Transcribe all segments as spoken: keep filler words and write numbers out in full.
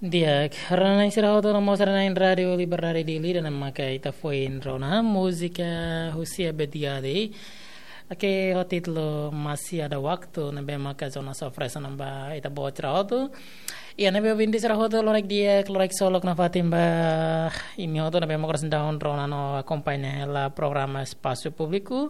Di'ak, rona-na'in sira hotu no mós rona-na'in Rádiu Liberdade Dili, ida-ne'e maka ita foin rona múzika husi Abed Gade. Oke, ho títulu Masih Ada Waktu, ne'ebé maka Jonas oferese ona ba ita-boot sira hotu. Iha ne'ebé ouvinte sira hotu, loraik di'ak, loraik solok nafatin ba imi hotu ne'ebé maka oras ne'e daudaun rona no akompaña hela programa Espasu Públiku.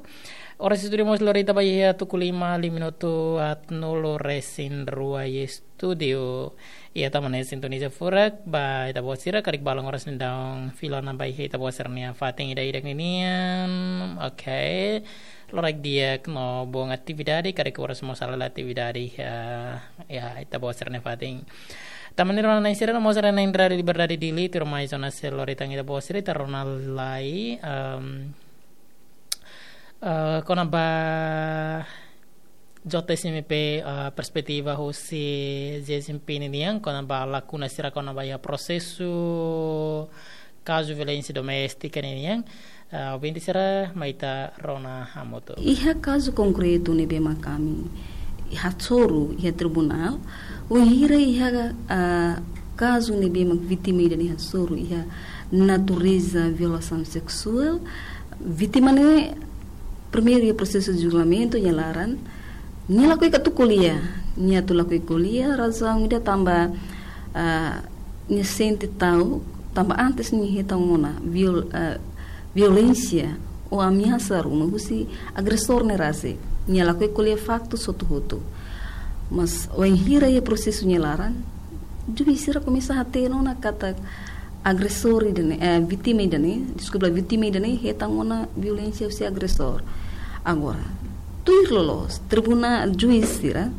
Oras estúdiu mós lori ita ba iha tuku lima, lima minutu haatnulu resin rua iha estúdiu. Iha tama ne'e sintoniza furak ba ita-boot sira, karik balun oras ne'e daudaun fila ona ba iha ita-boot sira-nia fatin ida-idak ninian. Oke. Loraik di'ak no bom atividade, karik oras mós halo atividade iha, iha ita-boot sira-nia fatin. Tanba ne'e rona-na'in sira no mós rona-na'in Rádiu Liberdade Dili, tuirmai Jonas sei lori tan ita-boot sira, ita rona lai, em, eh, kona-ba J S M P, eh, perspetiva husi G S M P ninian, kona-ba lakuna sira kona-ba iha prosesu kazu violénsia doméstika ninian, eh, ouvinte sira mai ita rona hamutuk. Iha kazu konkretu ne'ebé mak ami hasoru iha tribunál, wainhira iha, ah, kazu ne'ebé mak vítima ida-ne'e hasoru iha natureza violasaun seksuál, vítima ne'e primeiru iha prosesu julgamentu nia laran, nia lakohi atu ko'alia, nia atu lakohi ko'alia, razaun ida tanba, ah, nia sente ta'uk, tanba antes nia hetan ona viol-, ah, violénsia ou ameasa ruma husi agresór ne'e rasik. Nia lakohi ko'alia faktu hotu-hotu. Mas wainhira iha prosesu nia laran, juís sira komesa hatene ona katak agresór ida-ne'e, eh, vítima ida-ne'e, deskulpa, vítima ida-ne'e hetan ona violénsia husi agresór. Agora, tuir loloos, tribunál, juís sira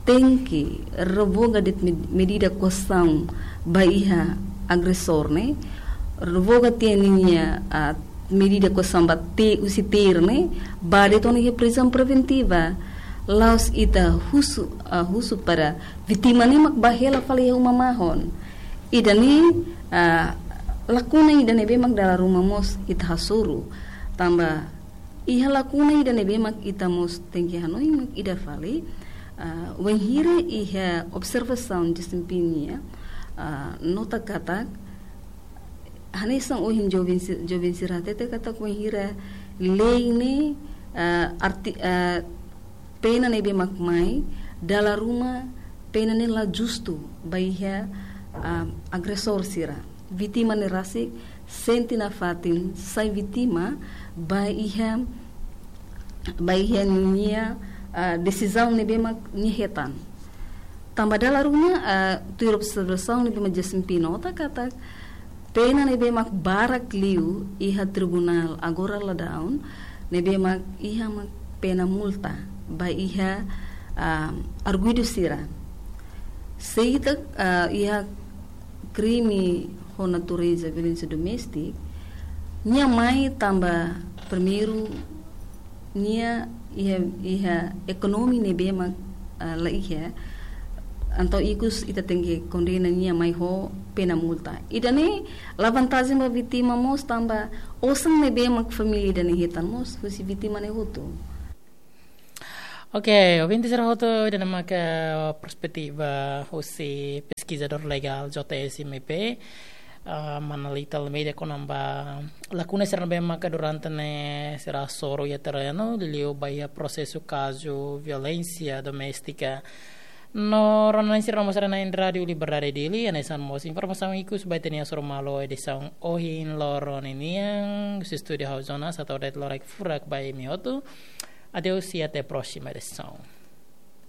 tenke revoga de'it med-, medida koasaun ba iha agresór ne'e, revoga tiha ninia, ah, medida koasaun ba te-, husi tuir ne'e, ba de'it ona iha prizaun preventiva. La'ós ita husu, ah, husu para vítima ne'e mak bá hela fali iha uma mahon. Ida-ne'e, ah, lakuna ida ne'ebé mak dala ruma mós ita hasoru. Tanba iha lakuna ida ne'ebé mak ita mós tenke hanoin mak ida fali, ah, wainhira iha observasaun desempeñu, ah, nota katak, hanesan ohin joven si-, joven sira hatete katak wainhira lei ne'e, ah, arti-, ah, pena ne'ebé mak mai, dala ruma pena ne'e la justu ba iha, ah, agresór sira. Vítima ne'e rasik sente nafatin sai vítima ba iha, ba iha nia, ah, desizaun ne'ebé mak nia hetan. Tanba dala ruma, ah, tuir observasaun ne'ebé mak G S M P nota katak pena ne'ebé mak barak liu iha tribunál agora daudaun, ne'ebé mak iha mak pena multa ba iha, ah, arguidu sira. Se ita, ah, iha krime ho natureza violénsia doméstika, nia mai tanba primeiru nia iha, iha ekonomia ne'ebé mak, ah, la iha. Entaun ikus ita tenke kondena nia mai ho pena multa. Ida-ne'e la vantajen ba vítima mós tanba osan ne'ebé mak família ida-ne'e hetan mós husi vítima ne'e hotu. Oke, ouvinte sira hotu, ida-ne'e maka perspetiva husi peskizadór legál J S M P, ah, Mana Lita Almeida kona-ba lakuna sira ne'ebé maka durante ne'e sira hasoru iha terrenu, liuliu ba iha prosesu kazu violénsia doméstika. No rona-na'in sira no mós rona-na'in Rádiu Liberdade Dili, hanesan mós informasaun ikus ba ita-nia hasoru malu edisaun ohin loron ninian, husi estúdiu ha'u Jonas, hato'o de'it loraik furak ba imi hotu. Adeus e até a próxima edição.